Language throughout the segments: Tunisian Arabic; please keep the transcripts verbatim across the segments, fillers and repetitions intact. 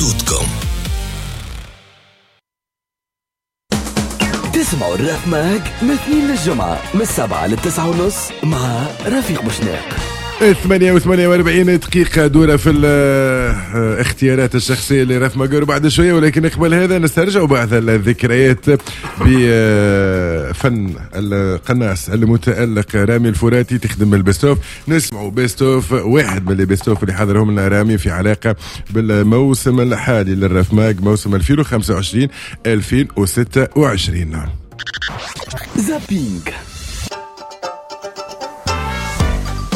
صوتكم. تسمعوا الراف ماج من اثنين للجمعة من السبعة للتسعة ونص مع رفيق بوشناق. ثمانية وثمانية وأربعين دقيقة دورة في الاختيارات الشخصية لراف ماجور بعد شوية، ولكن قبل هذا نسترجع بعض الذكريات بفن القناص المتألق رامي الفراتي. تخدم ال best of، نسمعوا best of واحد من ال best of اللي حضرهم لنا رامي في علاقة بالموسم الحالي للراف ماج، موسم ألفين وخمسة وعشرين ألفين وستة وعشرين. zapping.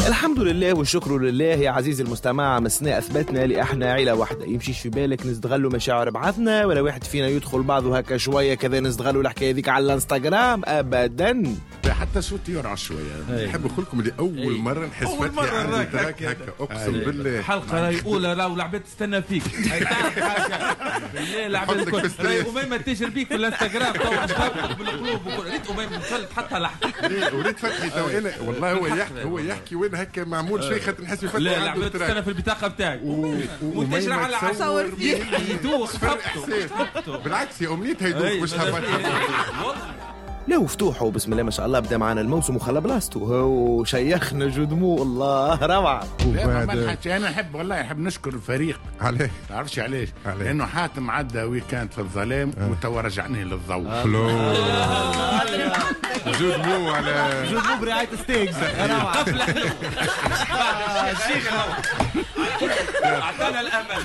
الحمد لله والشكر لله يا عزيزي المستمع، مسنا أثبتنا اللي احنا عيلة واحدة. يمشيش في بالك نستغلوا مشاعر بعضنا ولا واحد فينا يدخل بعضه هكا شوية كذا نستغلوا الحكاية ذيك على الانستغرام أبدا. حتى صوتي يرعى شوية. نحب نقول لكم اللي أول مرة نحس فتحي عندي trac هكا، أقسم بالله. حلقة راهي أولى راهو العباد تستنى فيك. تعرف حاجة بالله العباد الكل راهي أميمة تجري بيك في الانستغرام تو تهبط بالقلوب وكل. ريت أميمة وصلت حتى لحظة. وريت فتحي تو أنا والله هو يحكي هو يحكي وين هكا معمول شيء خاطر نحس في فتحي. لا العباد تستنى في البطاقة بتاعك وتجري على تصور فيه يدوخ. بالعكس يا أمنيتها يدوخ مش هبطها. لا وفتوحه بسم الله ما شاء الله بدا معنا الموسم وخلى بلاصته وشيخنا جدمو الله روعه. وبعد انا احب والله احب نشكر الفريق. عليه تعرفش علاش؟ لانه حاتم عدى week-end في الظلام آه. وتوا رجعني للضوء. jeu de mots على jeu de mots برعاية ستيكس روعه. الشيخ اعطانا الامل،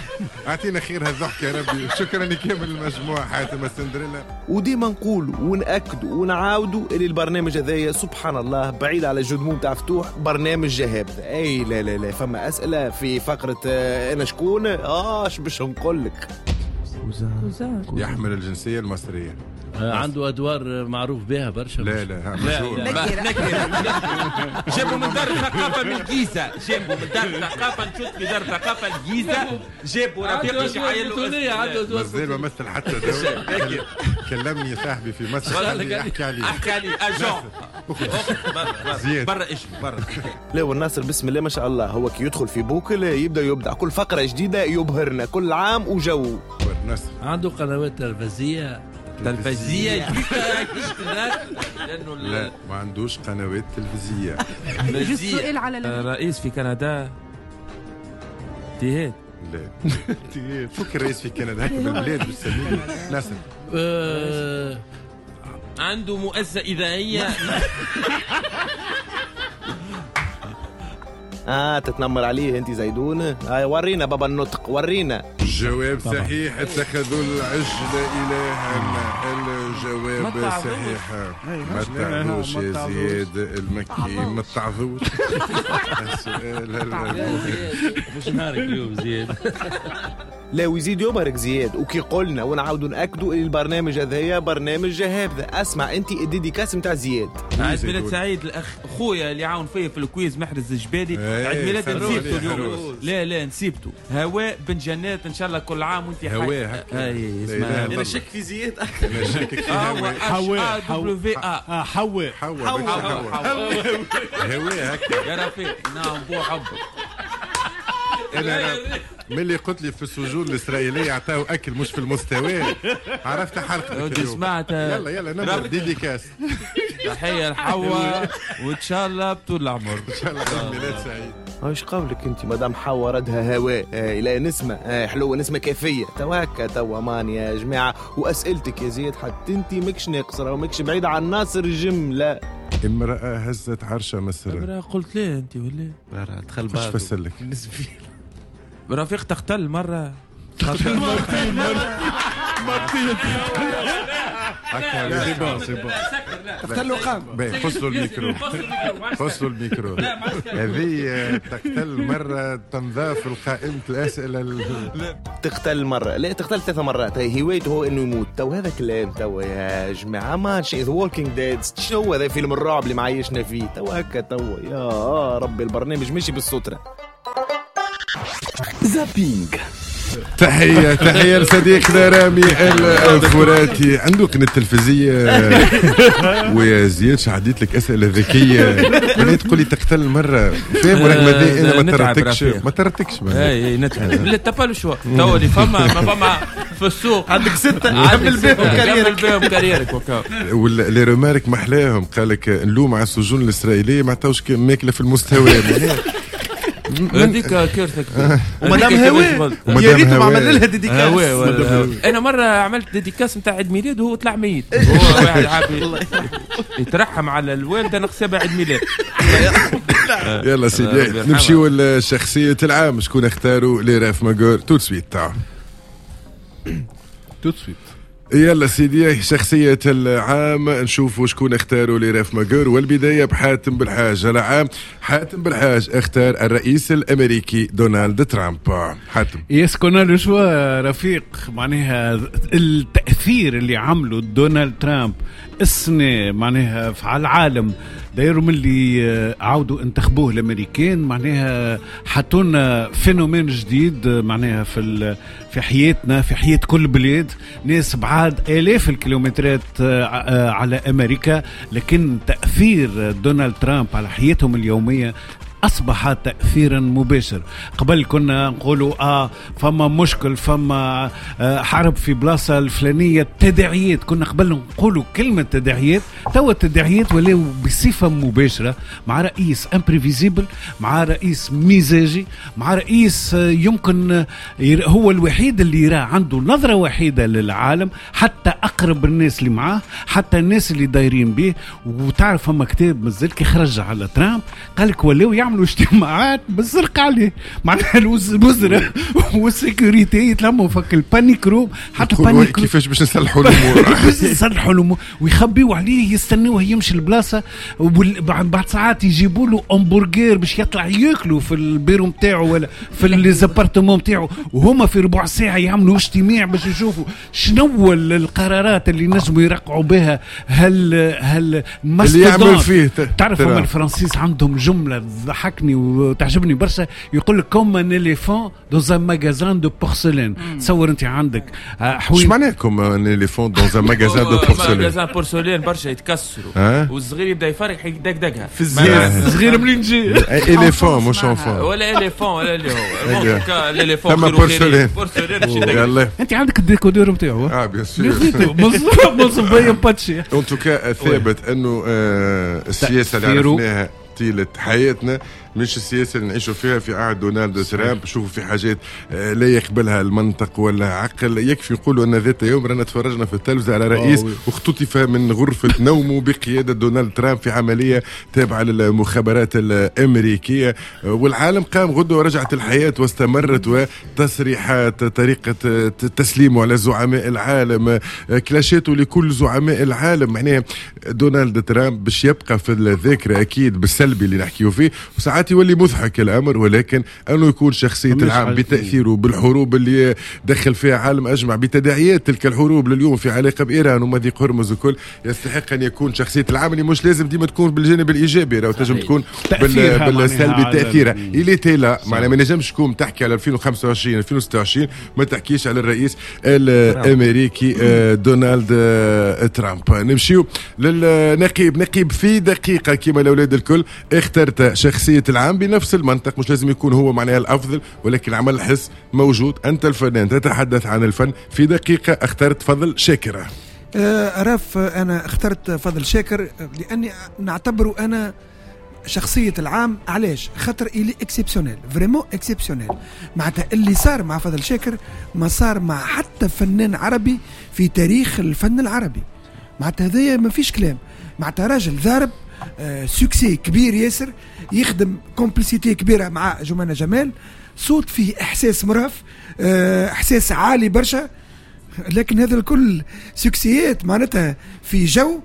اعطينا خير هالضحك يا ربي. شكرا لكامل المجموعة حاتم السندريلا. وديما نقول ونأكد ونعاودوا اللي البرنامج هذايا سبحان الله بعيد على jeu de mots تاع فتوح، برنامج جهابذ. اي لا لا لا فما اسئلة في فقره انا شكون اه اش باش نقول لك. يحمل الجنسية المصرية، عنده ادوار معروف بها برشا. لا لا مشهور. جابوا من دار الثقافة من الجيزة، جابوا من دار الثقافة نشوف في دار الثقافة الجيزة، جابوا رفيق شحايل مازال ما مثل حتى دور. كلمني صاحبي في مصر قال لي احكي عليه احكي عليه اجون برا ايش برا. لا والناصر بسم الله ما شاء الله هو كي يدخل في boucle يبدا يبدع كل فقره جديدة يبهرنا كل عام وجو. عنده قنوات تلفزيونية تلفزيونية لأنه لا ما عندوش قنوات تلفزيونية. السؤال على رئيس في كندا تيهات. لا تيهات فك الرئيس في كندا هكا بالبلاد بالسمين ناصر. عنده مؤسسة إذاعية. آه تتنمر عليه أنت زيدون. آه ورينا بابا النطق ورينا. الجواب صحيح، اتخذوا العجل إلها. الجواب صحيح. ما تعذوش يا زياد المكي، ما تعذوش. السؤال مش نهارك اليوم زياد. لا ويزيد يبهرك زياد. وكي قلنا ونعاودوا ناكدوا البرنامج هذايا برنامج جهابذ. اسمع انت ال dédicace نتاع زياد. عيد ميلاد سعيد الاخ خويا اللي عاون فيا في ال quiz محرز الجبالي. عيد ميلاد نسيبته اليوم. لا لا نسيبته هواء بن جنات. ان شاء الله كل عام وانت حي. هواء اي اسمع انا شك في زياد اكثر. انا شاكك في هواء. حواء حواء حواء حواء هواء هكا يا رفيق. نعم بو حبك. انا ملي قلت لي في السجون الاسرائيلية عطاو اكل مش في المستوى عرفت حلقة. سمعت. يلا يلا نبدا dédicace. تحية لحواء وان شاء الله بطول العمر. ان شاء الله عيد ميلاد سعيد. ايش قولك انت مدام حواء ردها هواء الى نسمه آه حلوة نسمه كافيه تو هكا تو امان يا جماعة. واسئلتك يا زياد حتى انت ماكش ناقصه وماكش بعيدة عن ناصر الجملة. امراة هزت عرش مصر. امراة قلت ليه انت ولا دخل بعض. ايش فسر لك؟ رفيق تختل مرة تختل مرتين مرتين هكا c'est bon c'est bon تختل وقام. فصلوا الميكرو فصلوا الميكرو. هذه تختل مرة تنضاف لقائمة الأسئلة. تختل مرة لا تختل ثلاث مرات. هي هوايته هو انه يموت. تو هذا كلام تو يا جماعة ماشي The Walking Dead. شنو هذا فيلم الرعب اللي معيشنا فيه تو هكا تو يا ربي. البرنامج ماشي بالسترة. zapping. تحية تحية لصديقنا رامي الفراتي، عنده قناة تلفزيه. ويا زياد عديت لك اسئلة ذكية، بنيت تقول لي تقتل مرة فاهم، ورغم ذلك انا ما ترتكش ما ترتكش. اي نتعب لا t'as pas le choix، تو اللي فما ما فما في السوق عندك ستة كمل بهم carrière ك، كمل بهم carrière ك. و les remarques محلاهم، قال لك نلوم على السجون الاسرائيلية ما عطاوش ماكله في المستوى. هذيك كارثة كبيرة. ومدام هواء يا ريت ما عمل لها dédicace. انا مرة عملت dédicace نتاع عيد ميلاد وهو طلع ميت، هو واحد عابي يترحم على الوالدة نقصبها عيد ميلاد. يلا سيدي نمشيو لشخصية العام، شكون اختاروا les Raf Mag tout de suite tout de suite. يلا سيدي شخصية العام نشوفوا شكون اختاروا les Raf Mag، والبداية بحاتم بالحاج. العام حاتم بالحاج اختار الرئيس الأمريكي دونالد ترامب. حاتم est-ce qu'on a le choix رفيق، معناها التأثير اللي عمله دونالد ترامب السنة معناها على العالم، دايروا من اللي عاودوا انتخبوه الامريكان، معناها حطونا phénomène جديد معناها في في حياتنا، في حياة كل بلاد، ناس بعاد آلاف الكيلومترات على امريكا، لكن تأثير دونالد ترامب على حياتهم اليومية أصبح تأثيرا مباشر. قبل كنا نقولوا آه فما مشكل، فما آه حرب في بلاصة الفلانية، تداعيات، كنا قبل نقولوا كلمة تداعيات، توا التداعيات ولاو بصفة مباشرة مع رئيس imprévisible، مع رئيس مزاجي، مع رئيس يمكن هو الوحيد اللي يرى عنده نظرة وحيدة للعالم، حتى أقرب الناس اللي معاه، حتى الناس اللي دايرين به. وتعرف فما كتاب مازال كي خرج على ترامب قالك ولاو يعمل اجتماعات بالزرق عليه، معناها الوزراء وال sécurité يتلموا فك ال panic room، حتى ال panic room كيفاش باش نصلحوا الامور، باش نصلحوا الامور ويخبيوا عليه، يستنوه يمشي البلاصة، وبعد ساعات يجيبوا له همبرجر باش يطلع ياكلوا في البيرو نتاعو ولا في les appartements نتاعو، وهما في ربع ساعة يعملوا اجتماع باش يشوفوا شنو القرارات اللي نجموا يرقعوا بها. هل هل اللي يعمل فيه تعرف هما الفرنسيس عندهم جملة ضحكني وتعجبني برشا، يقول لك comme un éléphant dans un magasin de porcelaine. تصور انت عندك حوين، اش معناها comme un éléphant dans un magasin de porcelaine؟ magasin porcelaine برشا يتكسروا والصغير يبدا يفرح يدقدقها في الصغير منين تجي éléphant مش enfant ولا éléphant ولا اللي هو l'éléphant porcelaine porcelaine. انت عندك ال décodeur نتاعو اه bien sûr مصبيه باتشي. en tout cas ثابت انه السياسة اللي عرفناها طيلة حياتنا مش السياسة اللي نعيشوا فيها في عهد دونالد ترامب. شوفوا في حاجات لا يقبلها المنطق ولا عقل. يكفي نقولوا أن ذات يوم رانا تفرجنا في التلفزة على رئيس واختطف من غرفة نومه بقيادة دونالد ترامب في عملية تابعة للمخابرات الأمريكية، والعالم قام غدوة ورجعت الحياة واستمرت، وتصريحات طريقة تسليمه على زعماء العالم، كلاشاته لكل زعماء العالم. معناها دونالد ترامب باش يبقى في الذاكرة أكيد بالسلبي اللي نحكيه فيه، وساعات يولي مضحك الأمر، ولكن أنه يكون شخصية العام بتأثيره بالحروب اللي دخل فيها عالم أجمع، بتداعيات تلك الحروب لليوم في علاقة بإيران ومضيق هرمز وكل، يستحق أن يكون شخصية العام اللي مش لازم ديما تكون بالجانب الإيجابي، لو تنجم تكون بالسلبي تأثيرها. إلي تيلا معناها ما نجمش تكون تحكي على ألفين وخمسة وعشرين ألفين وستة وعشرين ما تحكيش على الرئيس الأمريكي دونالد ترامب. نمشيو للنقيب. نقيب في دقيقة كما الأولاد الكل اخترت شخصية العام بنفس المنطق، مش لازم يكون هو معناها الأفضل، ولكن عمل الحس موجود. أنت الفنان تتحدث عن الفن في دقيقة، اخترت فضل شاكر. أه رف أنا اخترت فضل شاكر لأني نعتبره أنا شخصية العام. علاش؟ خاطر il est exceptionnel، vraiment exceptionnel. معناتها اللي صار مع فضل شاكر ما صار مع حتى فنان عربي في تاريخ الفن العربي. معناتها هذايا ما فيش كلام. معناتها راجل ضارب آه succès كبير ياسر، يخدم complicité كبيرة مع جمانة جمال، صوت فيه إحساس مرهف، آه إحساس عالي برشا، لكن هذا الكل succès ات معناتها في جو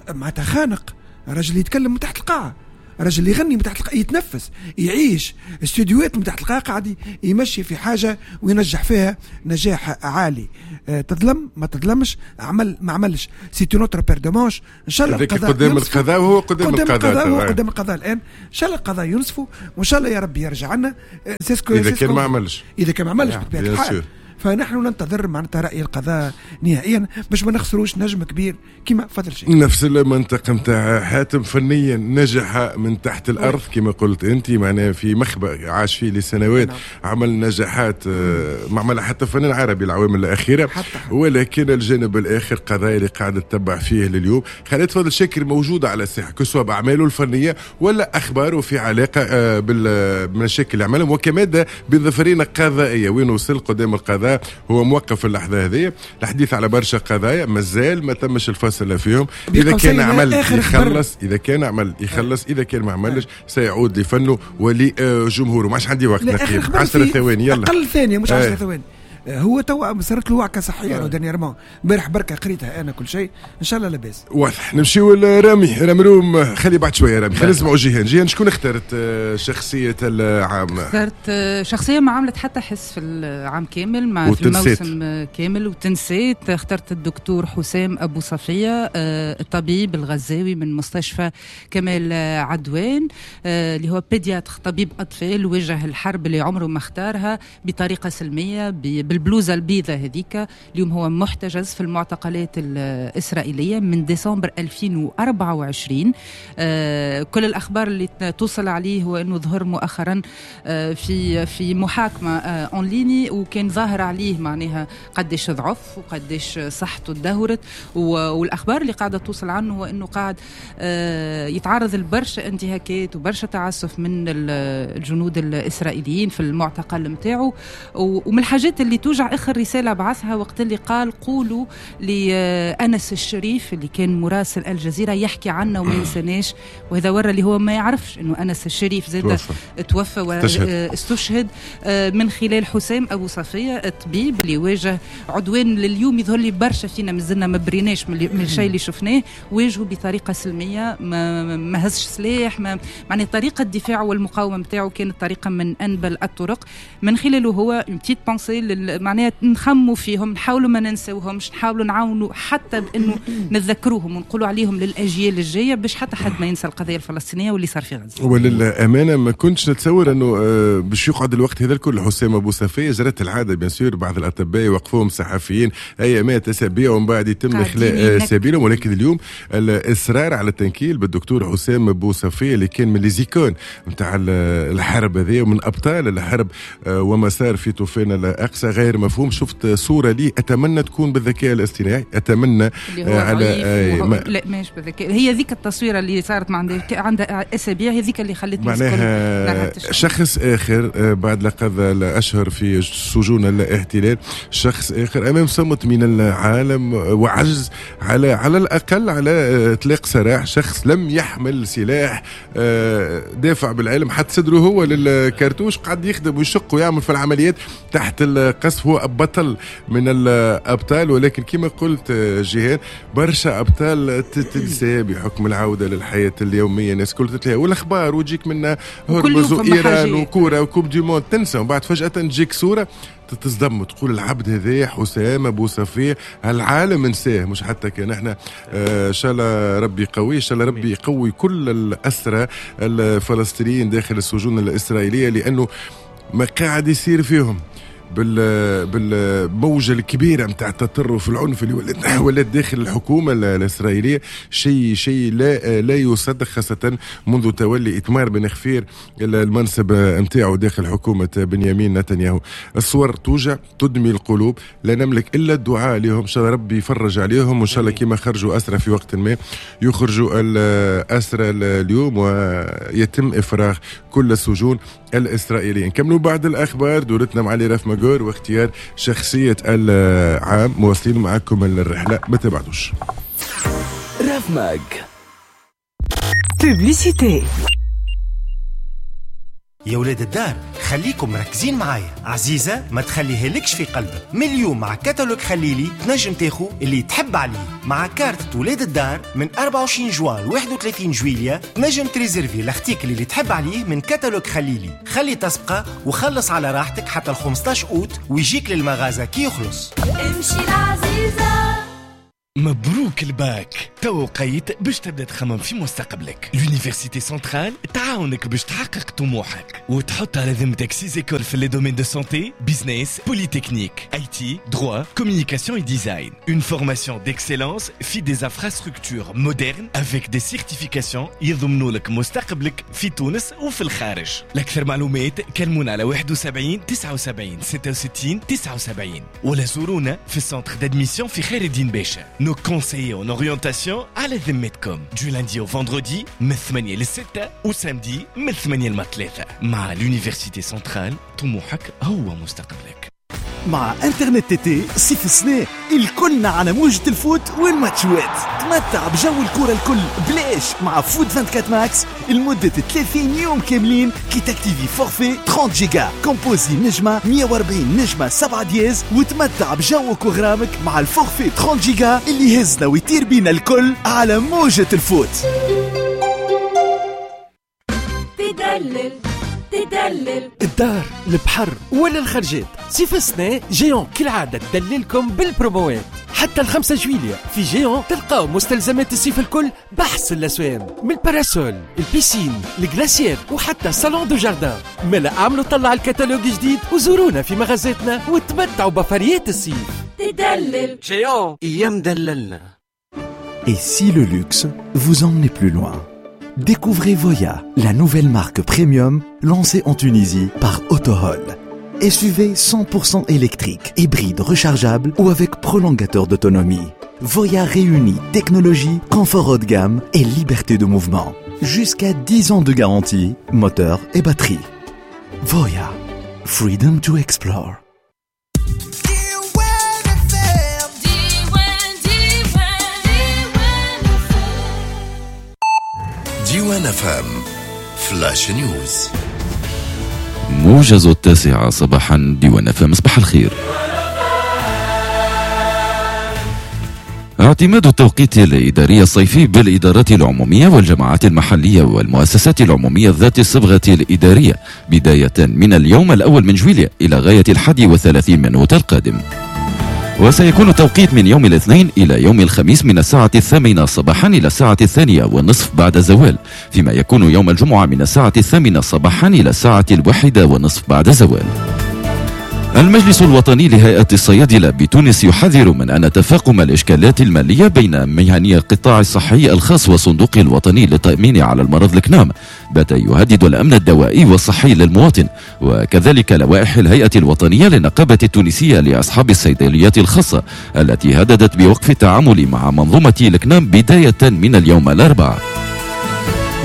معناتها خانق. راجل يتكلم من تحت القاعة، رجل يغني من تحت القاعة، يتنفس، يعيش استوديوهات من تحت القاعة، قاعد يمشي في حاجة وينجح فيها نجاح عالي. أه تظلم ما تظلمش، عمل ما عملش، c'est une autre paire de manches. ان شاء الله القضاء قدام القضاء، وهو قدام قدام القضاء، هو قدام القضاء الان. ان شاء الله القضاء ينصفه، وان شاء الله يا ربي يرجع لنا. اذا كان ما عملش، اذا كان ما عملش بطبيعة الحال. فنحن ننتظر معناتها رأي القضاء نهائيا باش ما نخسروش نجم كبير كما فضل شيء. نفس المنطق نتاع حاتم، فنيا نجح من تحت الأرض كما قلت أنت، معناها في مخبأ عاش فيه لسنوات. نعم. عمل نجاحات ما عملها حتى فنان عربي العوام الأخيرة، حتى حتى. ولكن الجانب الآخر قضايا اللي قاعدة تتبع فيه لليوم. خليت فضل شاكر موجود على الساحة، كسوا بأعماله الفنية ولا أخباره في علاقة بالمشاكل اللي عملهم، وكمادة بظفرين قضائية وين وصل قدام القضاء. هو موقف اللحظة هذه. الحديث على برشا قضايا مازال ما تمش الفصل فيهم. إذا كان عمل يخلص، إذا كان عمل يخلص، إذا كان ما عملش سيعود لفنه ولجمهوره. ما عادش عندي وقت نقيب، عشرة ثواني يلا، أقل ثانية مش عشرة ثواني. هو توا صارت له وعكة صحية dernièrement، امبارح بركة قريتها أنا كل شيء، إن شاء الله لاباس. واضح. نمشيو لرامي رمروم، خلي بعد شوية رامي، خلينا نسمعوا جيهان. جيهان شكون اخترت شخصية العام؟ اخترت شخصية ما عملت حتى حس في العام كامل، مع في الموسم كامل وتنسيت. اخترت الدكتور حسام أبو صفية، الطبيب الغزاوي من مستشفى كمال عدوان، اللي هو pédiatre، طبيب أطفال، واجه الحرب اللي عمره ما اختارها بطريقة سلمية بالبلوزة البيضة هذيك. اليوم هو محتجز في المعتقلات الإسرائيلية من ديسمبر ألفين وأربعة وعشرين. آه كل الأخبار اللي توصل عليه هو أنه ظهر مؤخرا آه في في محاكمة آه en ligne، وكان ظاهر عليه معناها قديش ضعف وقديش صحته تدهورت. والأخبار اللي قاعدة توصل عنه هو أنه قاعد آه يتعرض لبرشا انتهاكات وبرشا تعسف من الجنود الإسرائيليين في المعتقل متاعه. ومن الحاجات اللي توجع آخر رسالة بعثها وقت اللي قال قولوا لأنس الشريف اللي كان مراسل الجزيرة يحكي عنا وما ينساناش، وهذا ورى اللي هو ما يعرفش أنه أنس الشريف زاد توفى واستشهد من خلال حسام أبو صفية الطبيب اللي واجه عدوان لليوم يظهر لي برشا فينا مازلنا ما بريناش من الشيء اللي شفناه، واجهه بطريقة سلمية، ما, ما هزش سلاح، ما معني طريقة الدفاع والمقاومة متاعه كانت طريقة من أنبل الطرق. من خلاله هو une petite pensée، معناها نخموا فيهم، نحاولوا ما ننسوهمش، نحاولوا نعاونوا حتى بأنه نتذكروهم ونقولوا عليهم للأجيال الجاية باش حتى حد ما ينسى القضية الفلسطينية واللي صار في غزة. وللأمانة ما كنتش نتصور أنه باش يقعد الوقت هذا الكل حسام أبو صفية. جرت العادة bien sûr بعض الأطباء يوقفوهم صحفيين أيامات أسابيع ومن بعد يتم إخلاء سبيلهم، ولكن اليوم الإصرار على التنكيل بالدكتور حسام أبو صفية اللي كان من les icônes نتاع الحرب هذه ومن أبطال الحرب وما صار في طوفان الأقصى غير مفهوم. شفت صورة لي أتمنى تكون بالذكاء الاصطناعي، أتمنى على آه ما لا ماش بالذكاء، هي ذيك التصويرة اللي صارت مع عندها أسابيع، هي ذيك اللي خلتني معناها شخص آخر بعد لقد الأشهر في سجون الاحتلال، شخص آخر أمام صمت من العالم وعجز على على الأقل على إطلاق سراح شخص لم يحمل سلاح، دافع بالعلم حتى صدره هو للكرتوش، قعد يخدم ويشق ويعمل في العمليات تحت القصف. هو بطل من الأبطال، ولكن كما قلت جيهان برشا أبطال تتنسى بحكم العودة للحياة اليومية، الناس كل تتلهى والأخبار وتجيك منها هرمز وإيران وكورة و coupe du monde تنسى، وبعد فجأة تجيك صورة تتصدم وتقول العبد هذا حسام أبو صفية العالم نساه، مش حتى كان احنا. ان شاء الله ربي يقوي، ان شاء الله ربي يقوي كل الأسرى الفلسطينيين داخل السجون الإسرائيلية، لأنه ما قاعد يصير فيهم بال بالموجة الكبيرة متاع التطرف العنف اللي ولات ولات داخل الحكومة الإسرائيلية شيء شيء لا لا يصدق، خاصة منذ تولي إتمار بن غفير المنصب متاعه داخل حكومة بنيامين نتنياهو. الصور توجع تدمي القلوب، لا نملك إلا الدعاء لهم، إن شاء الله ربي يفرج عليهم، وإن شاء الله كما خرجوا أسرى في وقت ما يخرجوا الأسرى اليوم ويتم إفراغ كل السجون الإسرائيلية. نكملوا بعد الأخبار دورتنا مع علي رف ماجور واختيار شخصية العام. مواصلين معكم الرحلة، ما تبعدوش. رف ماج publicité. يا ولاد الدار خليكم مركزين معايا، عزيزة ما تخليها لكش في قلبك. من اليوم مع كتالوج خليلي تنجم تاخو اللي تحب عليه. مع كارت ولاد الدار من أربعة وعشرين جوان ل واحد وثلاثين جويلية تنجم تريزيرفي ال article اللي تحب عليه من كتالوج خليلي. خلي تسبقه وخلص على راحتك حتى ال خمسطاش أوت ويجيك للمغازة كي يخلص. امشي العزيزة. مبروك الباك، تو وقيت باش تبدا تخمم في مستقبلك. l'université centrale تعاونك باش تحقق طموحك وتحط على ذمتك six écoles في les domaines de santé, business, polytechnique, IT, droit, communication et design. Une formation d'excellence في des infrastructures modernes avec des certifications يضمنوا لك مستقبلك في تونس وفي الخارج. لأكثر معلومات كلمونا على واحد وسبعين تسعة وسبعين ستة وستين تسعة وسبعين ولا زورونا في ال centre d'admission في خير الدين باشا. Nos conseillers en orientation على ذمتكم du lundi au vendredi من ثمانية للستة و samedi من ثمانية للثلاثة. مع l'université centrale طموحك هو مستقبلك. مع انترنت تي صيف السنة الكلنا على موجة ال foot والماتشوات. تمتع بجو الكرة الكل بلاش مع Foot أربعة وعشرين Max لمدة ثلاثين يوم كاملين كي تاكتيفي forfait ثلاثين جيجا. composer نجمة مية وأربعين نجمة سبعة dièse وتمتع بجوك وغرامك مع ال forfait ثلاثين جيجا اللي يهزنا ويطير بينا الكل على موجة ال foot. تدلل تدلل الدار، البحر ولا الخرجات، صيف السنة Géant كالعادة تدللكم بالبروموات حتى الخمسة جويلية. في Géant تلقاو مستلزمات الصيف الكل بأحسن الأسوام، من ال parasol، ال piscine، ال glacière وحتى salon de jardin. ملا اعملوا طلع الكتالوج جديد وزورونا في مغازاتنا وتمتعوا بفريات الصيف. تدلل Géant يا مدللنا. Et si le luxe vous emmenait plus loin? Découvrez Voyah, la nouvelle marque premium lancée en Tunisie par Autohall. S U V cent pour cent électrique, hybride rechargeable ou avec prolongateur d'autonomie. Voyah réunit technologie, confort haut de gamme et liberté de mouvement. Jusqu'à dix ans de garantie, moteur et batterie. Voyah, freedom to explore. ديوان أف أم flash news. موجز التاسعة صباحا، ديوان أف أم، صباح الخير. اعتماد التوقيت الإداري الصيفي بالإدارات العمومية والجماعات المحلية والمؤسسات العمومية ذات الصبغة الإدارية بداية من اليوم الأول من جويلية إلى غاية الحادي والثلاثين من أوت القادم. وسيكون التوقيت من يوم الاثنين إلى يوم الخميس من الساعة الثامنة صباحا إلى الساعة الثانية والنصف بعد الزوال، فيما يكون يوم الجمعة من الساعة الثامنة صباحا إلى الساعة الواحدة والنصف بعد الزوال. المجلس الوطني لهيئة الصيادلة بتونس يحذر من أن تفاقم الإشكالات المالية بين مهني القطاع الصحي الخاص والصندوق الوطني للتأمين على المرض الكنام بات يهدد الأمن الدوائي والصحي للمواطن، وكذلك لوائح الهيئة الوطنية للنقابة التونسية لأصحاب الصيدليات الخاصة التي هددت بوقف التعامل مع منظومة الكنام بداية من اليوم الأربعاء.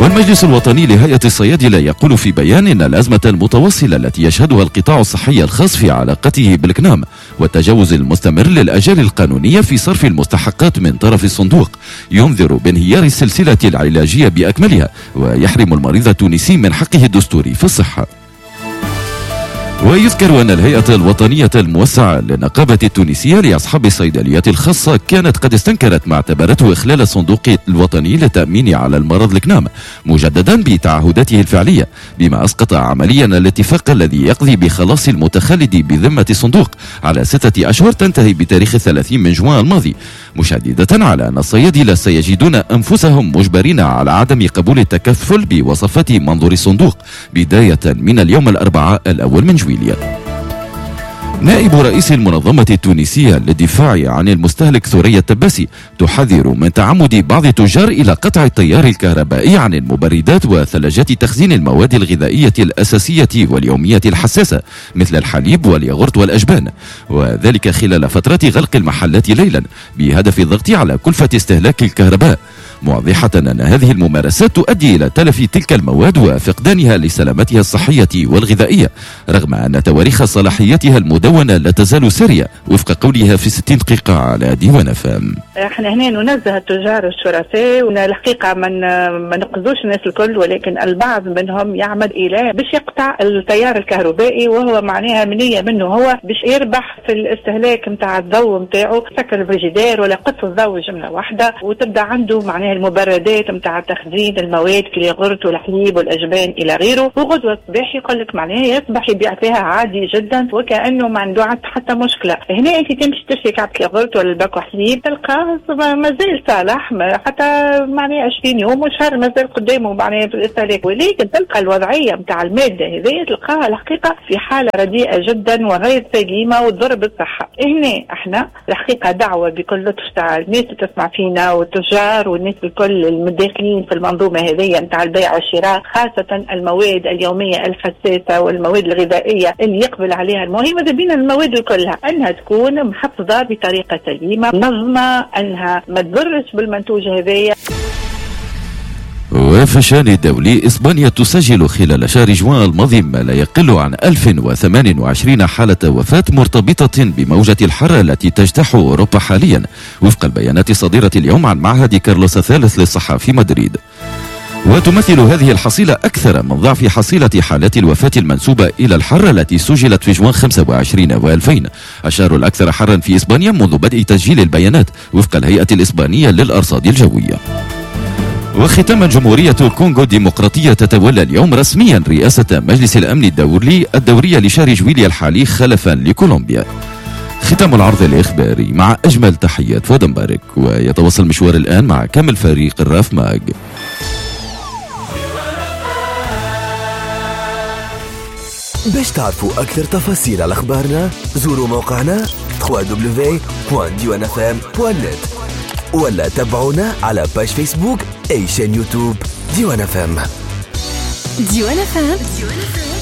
والمجلس الوطني لهيئة الصيادلة يقول في بيان أن الأزمة المتواصلة التي يشهدها القطاع الصحي الخاص في علاقته بالكنام والتجاوز المستمر للأجال القانونية في صرف المستحقات من طرف الصندوق ينذر بانهيار السلسلة العلاجية بأكملها ويحرم المريض التونسي من حقه الدستوري في الصحة. ويذكر أن الهيئة الوطنية الموسعة للنقابة التونسية لأصحاب الصيدليات الخاصة كانت قد استنكرت ما اعتبرته إخلال الصندوق الوطني للتأمين على المرض الكنام مجددا بتعهداته الفعلية، بما أسقط عمليا الاتفاق الذي يقضي بخلاص المتخلد بذمة الصندوق على ستة أشهر تنتهي بتاريخ الثلاثين من جوان الماضي، مشددة على أن الصيادلة سيجدون أنفسهم مجبرين على عدم قبول التكفل بوصفات منظور الصندوق بداية من اليوم الأربعاء الأول من جويلية. نائب رئيس المنظمة التونسية للدفاع عن المستهلك ثريا التباسي تحذر من تعمد بعض التجار إلى قطع التيار الكهربائي عن المبردات وثلاجات تخزين المواد الغذائية الأساسية واليومية الحساسة مثل الحليب والياغورت والأجبان، وذلك خلال فترة غلق المحلات ليلا بهدف الضغط على كلفة استهلاك الكهرباء، موضحة أن هذه الممارسات تؤدي إلى تلف تلك المواد وفقدانها لسلامتها الصحية والغذائية، رغم أن تواريخ صلاحيتها المدونة لا تزال سارية وفق قولها في ستين دقيقة على ديوان أف أم. احنا هنا ننزه التجار الشرفاء، والحقيقة من ما نقصدوش الناس الكل، ولكن البعض منهم يعمل الى باش يقطع التيار الكهربائي، وهو معناها منيه منه هو باش يربح في الاستهلاك نتاع الضوء نتاعو، سكر الفريجيدير ولا قص الضوء جملة واحدة، وتبدا عنده معناها المبردات نتاع تخزين المواد كالياغورت والحليب والاجبان الى غيره، وغدوه الصباح يقول لك معناها يصبح يبيع فيها عادي جدا وكانه ما عنده حتى مشكلة. هنا انت تمشي تشري كعبه الياغورت ولا الباكو حليب تلقاه مازال صالح حتى معناها عشرين يوم وشهر مازال قدامه معناها في الاستهلاك، ولكن تلقى الوضعية نتاع المادة هذه تلقاها الحقيقة في حاله رديئة جدا وغير سليمة وتضر بالصحة. هنا احنا الحقيقة دعوه بكل لطف تاع الناس اللي تسمع فينا والتجار والناس الكل المداخلين في المنظومة هذه نتاع البيع والشراء، خاصة المواد اليومية الحساسة والمواد الغذائية اللي يقبل عليها المهم، ماذا بينا المواد كلها انها تكون محفظة بطريقة سليمة منظمة، انها ما تضرش بالمنتوج هذايا. وفي الشان الدولي، إسبانيا تسجل خلال شهر جوان الماضي ما لا يقل عن ألف وثمانية وعشرين حالة وفاة مرتبطة بموجة الحر التي تجتاح أوروبا حاليا، وفق البيانات الصادرة اليوم عن معهد كارلوس الثالث للصحة في مدريد. وتمثل هذه الحصيلة أكثر من ضعف حصيلة حالات الوفاة المنسوبة إلى الحر التي سجلت في جوان خمسة وعشرين وألفين، الشهر الأكثر حرا في إسبانيا منذ بدء تسجيل البيانات وفق الهيئة الإسبانية للأرصاد الجوية. وختاما، جمهورية الكونغو الديمقراطية تتولى اليوم رسميا رئاسة مجلس الأمن الدولي الدورية لشهر جويليا الحالي خلفا لكولومبيا. ختام العرض الإخباري مع أجمل تحيات فؤاد مبارك، ويتواصل مشوار الآن مع كامل فريق الراف ماج. باش تعرفوا أكثر تفاصيل على أخبارنا زوروا موقعنا دبليو دبليو دبليو دوت ديوان اف ام دوت نت ولا تابعونا على page فيسبوك أي chaîne يوتيوب ديوان اف ام. ديوان اف ام